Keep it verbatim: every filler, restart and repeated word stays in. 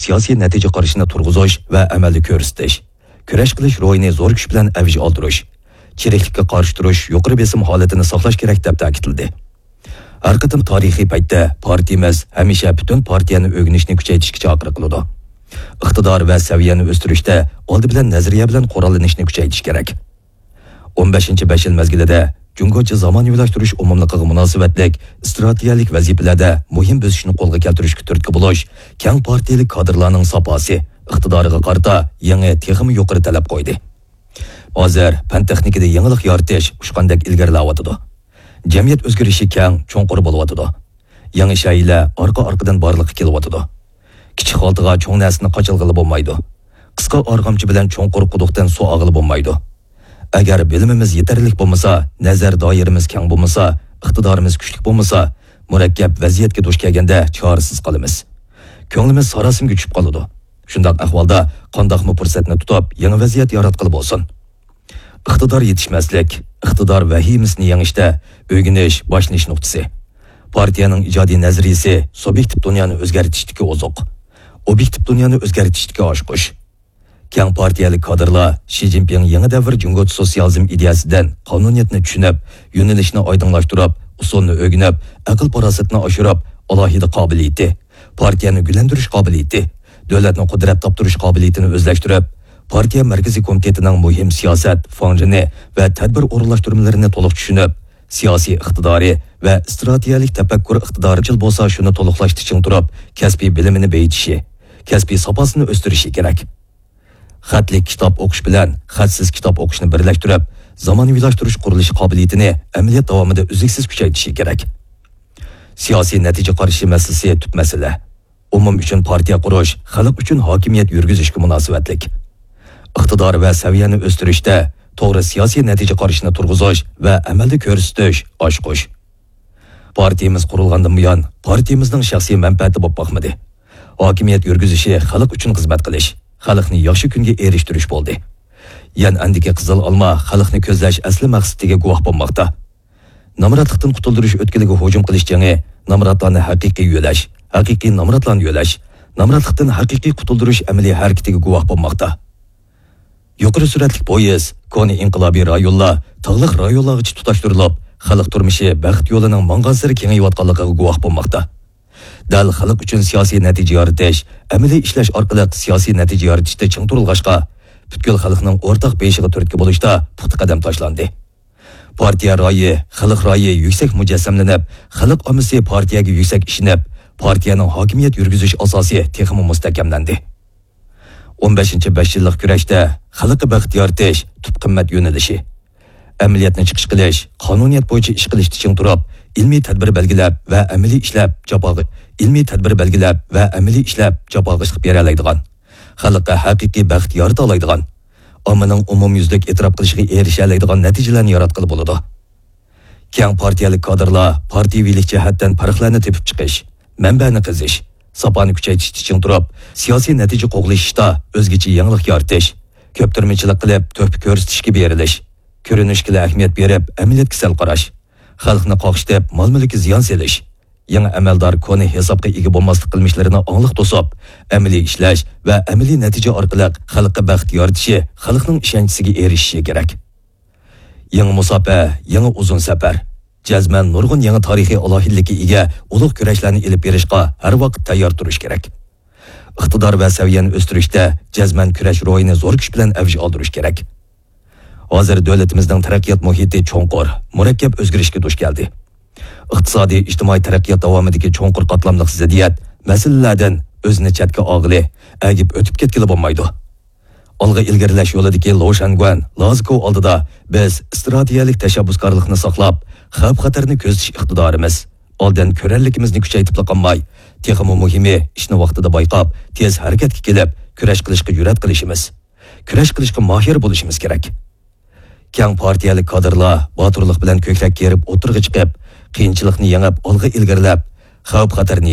سىياسىي نەتىجە قارىشىنى تۇرغۇزۇش ۋە ئەمەلدە كۆرسىتىش، كۈرەش قىلىش روھىنى زور كۈچ بىلەن ئەۋج ئالدۇرۇش، چىرىكلىككە قارشى تۇرۇش يۇقىرى بېسىم ھالىتىنى ساقلاش كېرەك، دەپ تەكىتلىدى. ھەر قېتىم تارىخىي پەيتتە پارتىيىمىز ھەمىشە پۈتۈن پارتىيەنى ئۆگىنىشنى كۈچەيتىشكە چاقىرىق قىلىدۇ. ئىقتىدار ۋە سەۋىيەنى ئۆستۈرۈشتە ئالدى بىلەن نەزەرىيە بىلەن قوراللىنىشنى كۈچەيتىش كېرەك. ئون بەشىنچى بەش يىل مەزگىلىدە جۇڭگوچە زامانىۋىلاشتۇرۇش ئومۇملۇقىغا مۇناسىۋەتلىك ئىستراتېگىيەلىك ۋەزىپىلەردە مۇھىم بۆسۈشنى قولغا كەلتۈرۈشكە تۈرتكە بولۇش كەڭ پارتىيەلىك كادىرلارنىڭ ساپاسى، ئىقتىدارىغا قارىتا يېڭى، تېخىمۇ يۇقىرى تەلەپ قويدى. ھازىر پەن-تېخنىكىدا يېڭىلىق يارىتىش ئۇچقاندەك ئىلگىرىلەۋاتىدۇ. جەمئىيەت ئۆزگىرىشى كەڭ، چوڭقۇر بولۇۋاتىدۇ. يېڭى شايىلار ئارقا-ئارقىدىن بارلىققا كېلىۋاتىدۇ. كىچىك خالتىغا چوڭ نەرسىنى قاچالغىلى بولمايدۇ. قىسقا ئارغامچا بىلەن چوڭقۇر قۇدۇقتىن سۇ ئالغىلى بولمايدۇ. ئەگەر بىلىمىمىز يېتەرلىك بولمىسا، نەزەر دائىرىمىز كەڭ بولمىسا، ئىقتىدارىمىز كۈچلۈك بولمىسا، مۇرەككەپ ۋەزىيەتكە دۇچ كەلگەندە چارىسىز قالىمىز. كۆڭلىمىز ساراسىمىگە چۈشۈپ قالىدۇ. شۇنداق ئەھۋالدا قانداقمۇ پۇرسەتنى تۇتۇپ، يېڭى ۋەزىيەت ياراتقىلى بولسۇن؟ ئىقتىدار يېتىشمەسلىك، ئىقتىدار ۋەھىمىسىنى يېڭىشتە ئۆگىنىش باشلىنىش نۇقتىسى. پارتىيەنىڭ ئىجادىي نەزەرىيىسى سۇبيېكتىپ دۇنيانى ئۆزگەرتىشتىكى ئوزۇق، ئوبيېكتىپ دۇنيانى ئۆزگەرتىشتىكى ئاچقۇچ. كەڭ پارتىيەلىك كادىرلار شى جىنپىڭ يېڭى دەۋر جۇڭگوچە سوتسىيالىزم ئىدىيەسىدىن قانۇنىيەتنى چۈشىنىپ، يۆنىلىشنى ئايدىڭلاشتۇرۇپ، ئۇسۇلنى ئۆگىنىپ، ئەقىل-پاراسەتنى ئاشۇرۇپ، ئالاھىدە قابىلىيىتى، پارتىيەنى گۈللەندۈرۈش قابىلىيىتى، دۆلەتنى قۇدرەت تاپتۇرۇش قابىلىيىتىنى ئۆزلەشتۈرۈپ، پارتىيە مەركىزىي كومىتېتىنىڭ مۇھىم سىياسەت، فاڭجېنى ۋە تەدبىر ئورۇنلاشتۇرمىلىرىنى تولۇق چۈشىنىپ، سىياسىي ئىقتىدارى ۋە ئىستراتېگىيەلىك تەپەككۇر ئىقتىدارى چىل بولسا، شۇنى تولۇقلاشتا چىڭ تۇرۇپ، كەسپىي بىلىمىنى بېيىتىشى، كەسپىي ساپاسىنى ئۆستۈرۈشى كېرەك. خەتلىك كىتاب ئوقۇش بىلەن خەتسىز كىتاب ئوقۇشنى بىرلەشتۈرۈپ، زامانىۋىلاشتۇرۇش قۇرۇلۇشى قابىلىيىتىنى ئەمەلىيەت داۋامىدا ئۈزلۈكسىز كۈچەيتىشى كېرەك. سىياسىي نەتىجە قارىشى مەسىلىسى تۈپ مەسىلە. ئومۇم ئۈچۈن پارتىيە قۇرۇش خەلق ئۈچۈن ھاكىمىيەت يۈرگۈزۈشكە مۇناسىۋەتلىك. ئىقتىدار ۋە سەۋىيەنى ئۆستۈرۈشتە توغرا سىياسىي نەتىجە قارىشىنى تۇرغۇزۇش ۋە ئەمەلدە كۆرسىتىش ئاچقۇچ. پارتىيىمىز قۇرۇلغاندىن بۇيان، پارتىيىمىزنىڭ شەخسىي مەنپەئەتى بولۇپ باقمىدى. ھاكىمىيەت يۈرگۈزۈشى خەلق ئۈچۈن خىزمەت قىلىش، خەلقنى ياخشى كۈنگە ئېرىشتۈرۈش بولدى. يەنئەندىكى قىزىل ئالما خەلقنى كۆزلەش ئەسلى مەقسىتىگە گۇۋاھ بولماقتا. نامراتلىقتىن قۇتۇلدۇرۇش ئۆتكىلىگە ھۇجۇم قىلىش جېڭى نامراتلارنى ھەقىقىي يۆلەش، ھەقىقىي نامراتلارنى يۆلەش، نامراتلىقتىن ھەقىقىي قۇتۇلدۇرۇش ئەمەلىي ھەرىكىتىگە گۇۋاھ بولماقتا. يۇقىرى سۈرئەتلىك پويىز، كونا ئىنقىلابىي رايونلار تاغلىق رايونلارغىچە تۇتاشتۇرۇلۇپ، خەلق تۇرمۇشى بەخت يولىنىڭ ماڭغانسېرى كېڭىيىۋاتقانلىقىغا گۇۋاھ بولماقتا. دەل خەلق ئۈچۈن سىياسىي نەتىجە يارىتىش، ئەمەلىي ئىشلەش ئارقىلىق سىياسىي نەتىجە يارىتىشتا چىڭ تۇرۇلغاچقا، پۈتكۈل خەلقنىڭ ئورتاق بېيىشىغا تۈرتكە بولۇشتا پۇختا قەدەم تاشلاندى. پارتىيە رايى، خەلق رايى يۈكسەك مۇجەسسەملىنىپ، خەلق ئاممىسى پارتىيەگە يۈكسەك ئىشىنىپ، پارتىيەنىڭ ھاكىمىيەت يۈرگۈزۈش ئاساسى تېخىمۇ مۇستەھكەملەندى. ئون بەشىنچى بەش يىللىق كۈرەشتە خەلققە بەخت يارىتىش تۈپ قىممەت يۆنىلىشى. ئەمەلىيەتنى چىقىش قىلىش، قانۇنىيەت بويىچە ئىش قىلىشتا چىڭ تۇرۇپ، ئىلمىي تەدبىر بەلگىلەپ ۋە ئەمەلىي ئىشلەپ جاپاغا، ئىلمىي تەدبىر بەلگىلەپ ۋە ئەمەلىي ئىشلەپ جاپاغا چىقىپ بېرەلەيدىغان، خەلققە ھەقىقىي بەخت يارىتالايدىغان، ئاممىنىڭ ئومۇميۈزلۈك ئېتىراپ قىلىشىغا ئېرىشەلەيدىغان نەتىجىلەرنى ياراتقىلى بولىدۇ. كەڭ پارتىيەلىك كادىرلار پارتىيىۋىلىك جەھەتتىن پەرقلەرنى تېپىپ چىقىش، مەنبەنى قېزىش، ساپانى كۈچەيتىشتە چىڭ تۇرۇپ، سىياسىي نەتىجە قوغلىشىشتا ئۆزگىچە يېڭىلىق يارىتىش، كۆپتۈرمىچىلىك قىلىپ تۆھپە كۆرسىتىشكە بېرىلىش، كۆرۈنۈشكىلا ئەھمىيەت بېرىپ ئەمەلىيەتكە سەل قاراش، خەلقنى قاقشىتىپ مال-مۈلۈككە زىيان سېلىش، يېڭى ئەمەلدار كونا ھېسابقا ئىگە بولماسلىق قىلمىشلىرىنى ئاڭلىق توسۇپ، ئەمەلىي ئىشلەش ۋە ئەمەلىي نەتىجە ئارقىلىق خەلققە بەخت يارىتىشى، خەلقنىڭ ئىشەنچىسىگە ئېرىشىشى كېرەك. يېڭى مۇساپە، يېڭى ئۇزۇن سەپەر. جەزمەن نۇرغۇن يېڭى تارىخىي ئالاھىدىلىككە ئىگە ئۇلۇغ كۈرەشلەرنى ئېلىپ بېرىشقا ھەر ۋاقىت تەييار تۇرۇش كېرەك. ئىقتىدار ۋە سەۋىيەنى ئۆستۈرۈشتە جەزمەن كۈرەش روھىنى زور كۈچ بىلەن ئەۋج ئالدۇرۇش كېرەك. ھازىر دۆلىتىمىزنىڭ تەرەققىيات مۇھىتى چوڭقۇر، مۇرەككەپ ئۆزگىرىشكە دۇچ كەلدى. ئىقتىسادىي، ئىجتىمائىي تەرەققىيات داۋامىدىكى چوڭقۇر قاتلاملىق زىددىيەت مەسىلىلەردىن ئۆزىنى چەتكە ئالغىلى، ئەگىپ ئۆتۈپ كەتكىلى بولمايدۇ. ئالغا ئىلگىرىلەش يولىدىكى لو شەنگۈەن لازكو ئالدىدا بىز ئىستراتېگىيەلىك تەشەببۇسكارلىقنى ساقلاپ، خەۋپ-خەتەرنى كۆزىتىش ئىقتىدارىمىز، ئالدىن كۆرەرلىكىمىزنى كۈچەيتىپلا قالماي، تېخىمۇ مۇھىمى، ئىشنى ۋاقتىدا بايقاپ، تېز ھەرىكەتكە كېلىپ، كۈرەش قىلىشقا جۈرئەت قىلىشىمىز، كۈرەش قىلىشقا ماھىر بولۇشىمىز كېرەك. كەڭ پارتىيەلىك كادىرلار باتۇرلۇق بىلەن كۆكرەك كېرىپ ئوتتۇرىغا چىقىپ، قىيىنچىلىقنى يېڭىپ، ئالغا ئىلگىرىلەپ، خەۋپ-خەتەرنى